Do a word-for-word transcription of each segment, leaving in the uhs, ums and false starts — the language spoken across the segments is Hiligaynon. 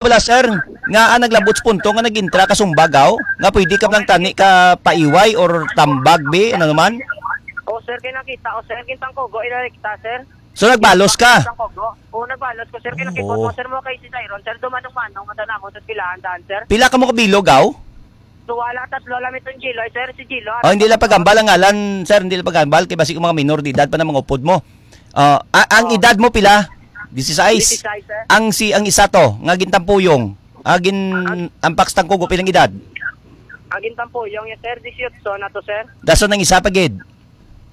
Wala, sir, nga, ah, naglabot sa punto nga nag-intra ka sumbag, aw, nga pwede ka lang tani ka paiway or tambag, bi, ano naman? O, sir, kay nakita, o, sir, gintangkugo, ina rekta, sir. So, nagbalos ka? Gintangkugo. O, nagbalos ko, sir, kay nakipot Oo. mo, sir, mo kay si Tyron, sir, dumanong-manong, mata namo sa pilahan daan, sir. Pila ka mo kabilog, aw? So, wala, tatlo lang itong Jilo, eh, sir, si Jilo, Oh, hindi lang pagambal ang ngalan, sir, hindi lang pagambal, kay basi kung mga minor de edad pa na mga upod mo. Ah, a-, ang Oh. edad mo pila? Disisais. Disisais, sir. Ang si, ang isa to, nga gintampuyong, ah, gin-, Ang ang Pax Tangkugo, pilang edad? Ang gintampuyong niya, sir, dieciocho na to, sir. Dason ang isa pa gid?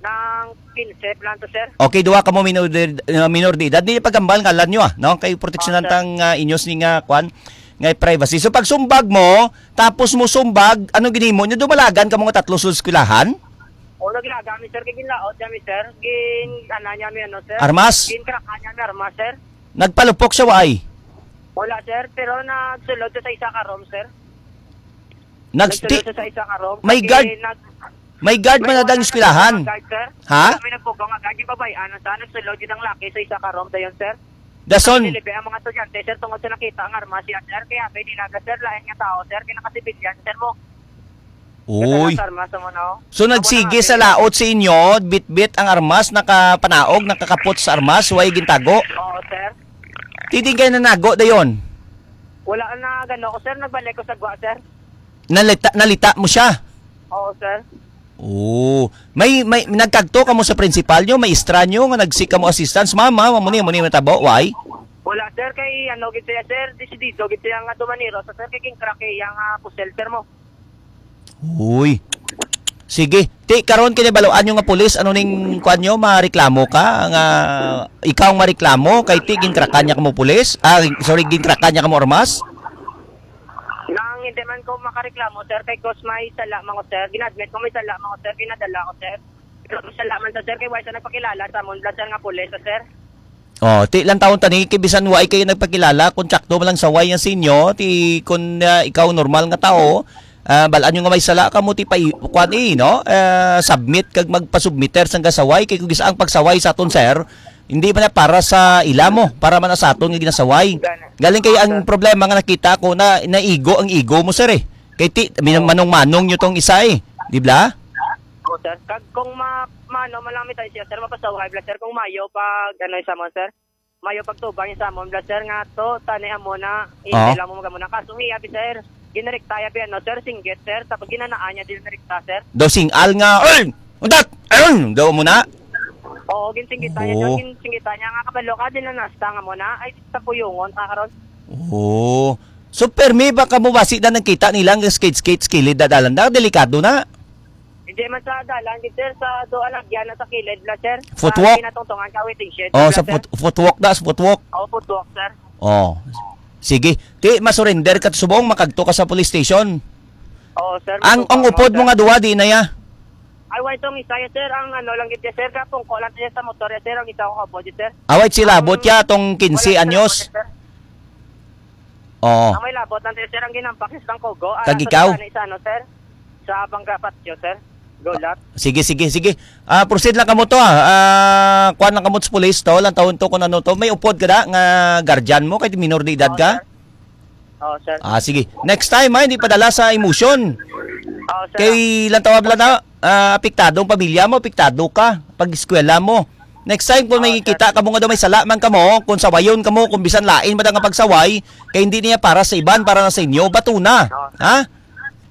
Nang quince lang to, sir. Okay, duha ka mo minor de, uh, minor de edad. Di pagambal ngalan nyo, ah, no? Kay proteksyonan Oh, sir. tang, ah, inyos ni nga, kwan, nga privacy. So, pag sumbag mo, tapos mo sumbag, anong ginimo nyo? Dumalagan ka mga tatlo sa eskwelahan? O, naglaga mi, sir. Kay ginlaot niya mi, sir. Gin, ano niya mi, ano, sir? Armas? Gin, crack niya mi, armas, sir. Nagpalupok siya, waay? Wala, sir. Pero nagsulod siya sa isa ka room, sir. Nag-, Nagsulod ti-, siya sa isa ka room. may Kasi guard, nag-, may guard may man na dang wala eskwelahan. Guard, sir. Ha? May nagpugaw nga guard. Yung babae, ano, sa nagsulod, yun ang laki sa isa ka room. Dayon, sir. Dason. Nililibi ang mga estudyante, sir, tungod sa nakita ang armas siya, sir. Kaya may nilaga, sir, lain nga tao, sir. Kaya nakasibilyan, sir, mo. Oo, Kaya oy. sa armas, amo na, oh. So, Amo na nagsige nga, sa sir. laot sa inyo, bitbit ang armas, nakapanaog, nakakapot sa armas, way gintago? Oo, sir. Ti diin kayo nanago dayon? Wala na, gano ko, sir. Nagbalik ko sa gwa, sir. Nalita, nalita mo siya? Oo, sir. Oo. May, may, nagkagto ka mo sa principal nyo, may istra nyo, nga nag-seek ka mo assistance? Ma'am, ma'am, amo ni, amo ni matabo, why? Wala, sir. Kay, ano, gid siya, sir, desidido, gid siya nga dumaniro. So, sir, kay king crack, eh, yang, ah, pusel, sir, mo. Uy. Sige. Ti, karon kini baluan nyo nga pulis, ano ning kuan nyo, mareklamo ka? Nga ikaw ang mareklamo, kay ti, ginkrakan niya ka mo pulis? Ah, sorry, ginkrakan niya ka mo armas? Nang hindi man ko makareklamo, sir, kay cause may sala man ko, sir. Gina-admit ko may sala man ko, sir. Ginadala ko, sir. Pero may sala man to, sir, kay wala siya nagpakilala sa amon, blood, sir, nga pulis, sir. Oh, ti lang taon tani, kay bisan wa kayo nagpakilala, kung tsakto man lang saway yan sa inyo, ti kun, ah, ikaw normal nga tao, ah, balaan nyo nga may sala ka mo, ti pa, kuan, eh, no? Ah, submit kag magpasubmiter sang gasaway, kay kung gisa ang pagsaway sa aton, sir, hindi man na para sa ila mo, para man na sa aton nga ginasaway. Galing kay ang problema nga nakita ko na naigo ang ego mo, sir, eh. Kay ti, min-, Oo. manong-manong nyo tong isa, eh. Di ba? Oo, sir. Kag kung ma-, mano man lang mi tayo siya, sir, mapasaway bla, sir, kung mayo pag, ano, sa mo, sir. Mayo pagtubang sa mo, bla, sir, nga to, tani amo na, Oo. hindi lang mo mag-amo na. Kaso hiya, bi, sir, ginarekta ya, bi, ano, sir, singgit, sir, tapos ginanaan niya, din rekta, sir. Daw singal nga, "Ay! Untat! Ayun!" Daw mo na? Oo, ginsinggitan niya, Oo. sir, ginsinggitan niya nga, kabalo ka, din na nasta nga mo na, ay, sa puyungon, ka karon. Oo. So, permi ba ka mo basi na nagkita nila nga skate-skate sa kilid na dalan na? Delikado na. Hindi man sa dalan, gid, sir, sa do alagyan na sa kilid la, sir. Footwalk? Sa kinatungtungan ka waiting shed, Oh, la, sa sir. foot-, footwalk na, sa footwalk. Oh, footwalk, sir. Oh. Sige. Ti, masurrender ka subong, makagto ka sa police station. Oo, sir, Ang, matuto ang ako, upod mo sir. nga duwa, di na ya? Ay, wait, tong isa ya, sir. Ang ano lang gid, sir, kapungko lang siya sa motor ya, sir. Ang isa ko kabod, sir. Away, sila Ang abot ya, tong quince wala, sir, anyos. Sir. Oo. Ang may labot lang, sir, ang ginampak is ng Kogo. Ah, Kag sa ikaw? Sa, sa, ano, sir? Sa Bangga Patio, sir. Golat. Sige, sige, sige. Ah, proceed lang kamo to, ah. Ah, kuan lang kamo sa pulis to, lang taon to kung ano to. May upod ka da nga guardian mo, kay minor de edad Oo, ka? sir. Oo, sir. Ah, sige. Next time, ha, hindi padala sa emotion. Oo, sir. Kay lang tawag lang na, ah, apektado ang pamilya mo, apektado ka, pag-eskwela mo. Next time, kung Oo, may sir. kita ka mo nga daw may sala man ka mo, kung sawayon ka mo, kung bisan lain man ang pagsaway, kay hindi niya para sa iban, para na sa inyo, bato na. Oo. Ha?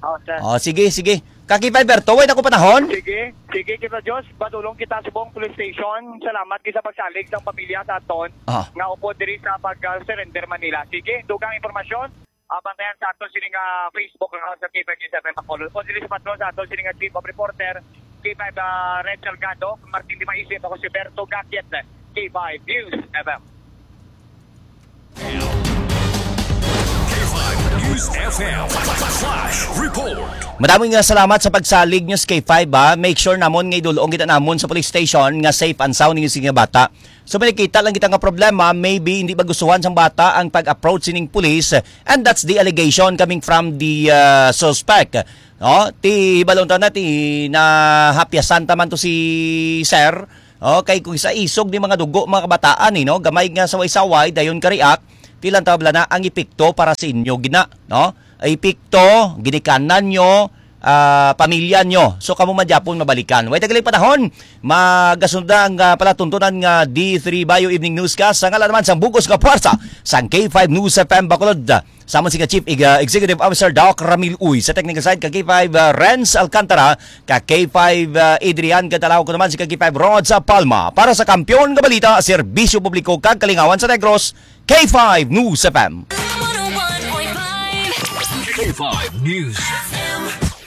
Oo, sir. Oh, sige, sige. Kaki Fiber, tuway na ko panahon. Sige, sige, kita Diyos, padulong kita sa buong police station. Salamat kita sa pagsalig sa pamilya sa aton Ah. nga upod diri sa pag-surrender Manila. Sige, dugang impormasyon. Ah, bantayan sa aton sining, ah, Facebook account sa K five News F M Bacolod. O dili sa patron sa aton sining, ah, Chief of Reporter, K five, ah, Red Salgado, Martin Dimaisip, ako si Berto Gakiet, K five News F M. K five News F M Flash Report. Madaming nga salamat sa pagsalig nyo sa K five, ha. Make sure namon nga idulong kita namon sa police station nga safe and sound ninyo sining bata. So, may nakita lang kita nga problema, maybe hindi ba gustuhan sang bata ang pag-approach sining police, and that's the allegation coming from the, uh, suspect. No? Ti hibalon ta na, ti nahapyasan ta man to si sir. Okay, kung sa isog ni mga dugo, mga kabataan, eh, no? Gamay nga saway-saway, dayon ka-react, Tilan tabla na ang epekto para sa inyo gina, no? Epekto, ginikanan nyo, ah, pamilya nyo. So, kamo man gyapon mabalikan. Way tagalay panahon, magasunda ang, ah, palatuntunan nga D three Bio Evening Newscast. Sa ngalan naman sang bugos nga puwersa sang K five News F M Bacolod. Samon si ka Chief Ex-, ah, Executive Officer Doc Ramil Uy. Sa technical side ka K five, ah, Renz Alcantara, ka K five, ah, Adrian Cantalaw, ko naman si ka K five Rod sa Palma. Para sa kampiyon nga balita, serbisyo publiko kag kalingawan sa Negros, K five News F M. K five News.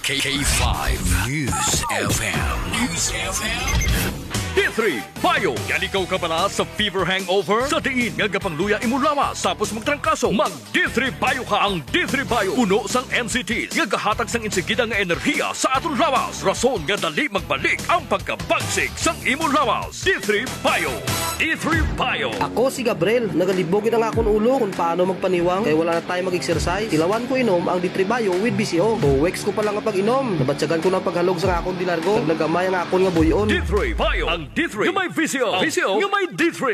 K five News F M. News F M. D three Bio. Yalikaw ka bala sa fever hangover? Sa diin nga gapangluya imo lawas tapos magtrangkaso? Mag D three Bio ka. Ang D three Bio puno sang N C Ts nga gahatag sang insigida nga enerhiya sa aton lawas, rason nga dali magbalik ang pagkabagsik sang imo lawas. D three Bio. D three Bio. Ako si Gabriel, nagalibog gid ang akon ulo kung paano magpaniwang kay wala na tayo mag-exercise. Tilawan ko inom ang D three Bio with B C O. Two weeks ko pa lang nga pag-inom, nabatyagan ko na ang paghalog sa akon di largo. Nagnagamay ang akon nga buyon. D three Bio. Ang D three nga may V C O. V C O nga may D three.